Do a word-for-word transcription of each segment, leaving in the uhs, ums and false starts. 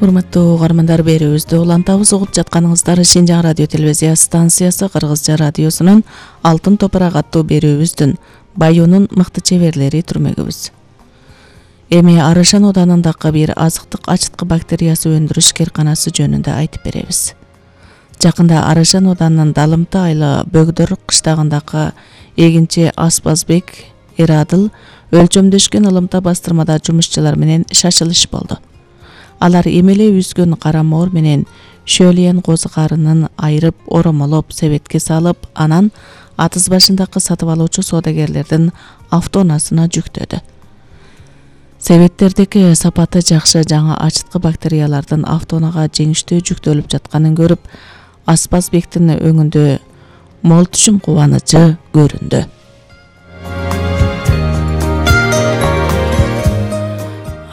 Урматтуу угармандар, берүүбүздү улантабыз. Угуп жатканыңыздар Шинжаң радио телевизия станциясы Кыргызча радиосунун Алтын топурак аттуу берүүбүздүн Байонун мыкты чеберлери түрмөгүбүз. Эми Арашан оданындагы бир азыктык ачыткы бактериясы өндүрүш кээрканасы жөнүндө айтып беребиз. Жакында Арашан оданынын Далымты айылы Бөгдөр кыштагындагы эгинчи Аспазбек Эрадыл өлчөмдөшкөн ылымта бастырмада жумушчулар менен шашылыш болду. Алар эмеле үзгөн карамоор менен шөөлөйөн козу карынын айырып, оромолоп, себетке салып, анан атыз башындагы сатып алуучу соодагерлердин автоунасына жүктөдү. Себеттердеги сапаты жакшы жаңы ачыткы бактериялардын автоунага жеңиштүү жүктөлүп жатканын көрүп, Аспазбектин өңүндө мол түшүм кубанычы көрүндү.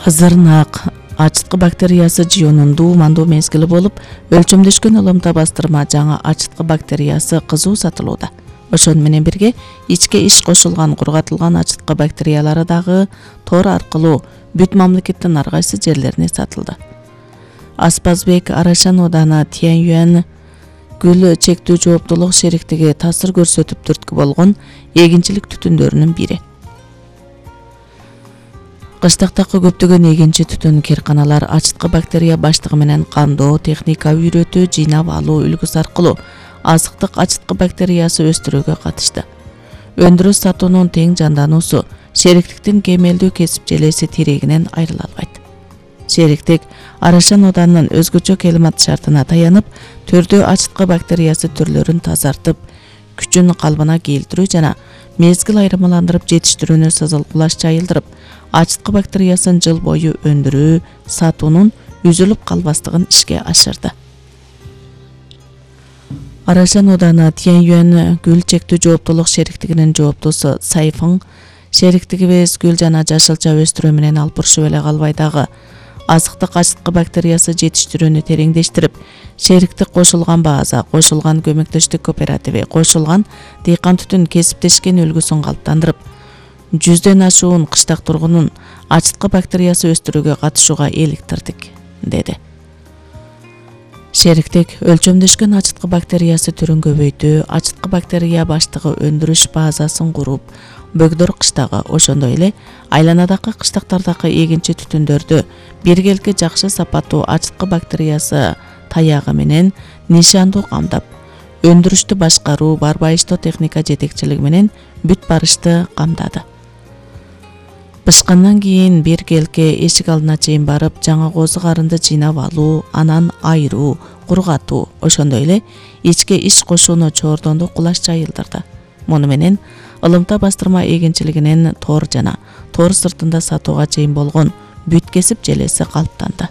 Азырнаак ачыткы бактериясы жыюунун дуумандуу мезгили болуп, өлчөмдөшкөн ылымта бастырма жаңы ачыткы бактериясы кызуу сатылууда. Ошону менен бирге ичке иш кошулган кургатылган ачыткы бактериялары дагы тор аркылуу бүт мамлекеттин ар кайсы жерлерине сатылды. Аспазбек Арашан ооданы Тяньюань гүл чектүү жооптулук шериктиги таасир көрсөтүп түрткү болгон эгинчилик түтүндөрүнүн бири. Кыштактагы көптөгөн эгинчи түтүн кээрканалар ачыткы бактерия баштыгы менен кандоо, техника үйрөтүү, жыйнап алуу үлгүсү аркылуу азыктык ачыткы бактериясы өстүрүүгө катышты. Өндүрүш сатуунун тең жандануусу шериктиктин кемелдүү кесип желеси тирегинен айрыла албайт. Шериктик Арашан оданынын өзгөчө климат шартына таянып, төрдө ачыткы бактериясы түрлөрүн тазартып, күчүн калыбына келтирүү жана мезгил айырмаландырып жетиштирүүнү сызылгылаш жайылдырып, ачыткы бактериясын жыл бою өндүрүү, сатуунун үзүлүп калбастыгын ишке ашырды. Арашан ооданы Тяньюань гүл чектүү жооптулук шериктигинин жооптусу Сайфың шериктигибиз гүл жана жашылча өстүрүү менен алпурушуп эле калбай дагы азыктык ачыткы бактериясы жетиштирүүнү тереңдештирип, шериктик кошулган база, кошулган көмөктөштүк кооперативи, кошулган дыйкан түтүн кесиптешкен үлгүсүн калыптандырып, жүздөн ашуун кыштак тургунун ачыткы бактериясы өстүрүүгө катышууга эликтирдик, деди. Шериктик өлчөмдөшкөн ачыткы бактериясы түрүн көбөйтүү, ачыткы бактерия баштыгы өндүрүш базасын куруп, Бөгдөр кыштагы, ошондой эле айланадагы кыштактардагы эгинчи түтүндөрдү биргелки жакшы сапаттуу ачыткы бактериясы таягы менен нишандуу камдап, өндүрүштү башкаруу, барбайыштоо техника жетекчилиги менен бүт барышты камдады. Бышкандан кийин биргелке эшик алдына чейин барып, жаңы козу карынды жыйнап алуу, анан айыруу, кургатуу, ошондой эле ичке иш кошууну чоордондо кулаш жайылдырды. Муну менен ылымта бастырма эгинчилигинин тор жана тор сыртында сатууга чейин болгон бүт кесип желеси калыптанды.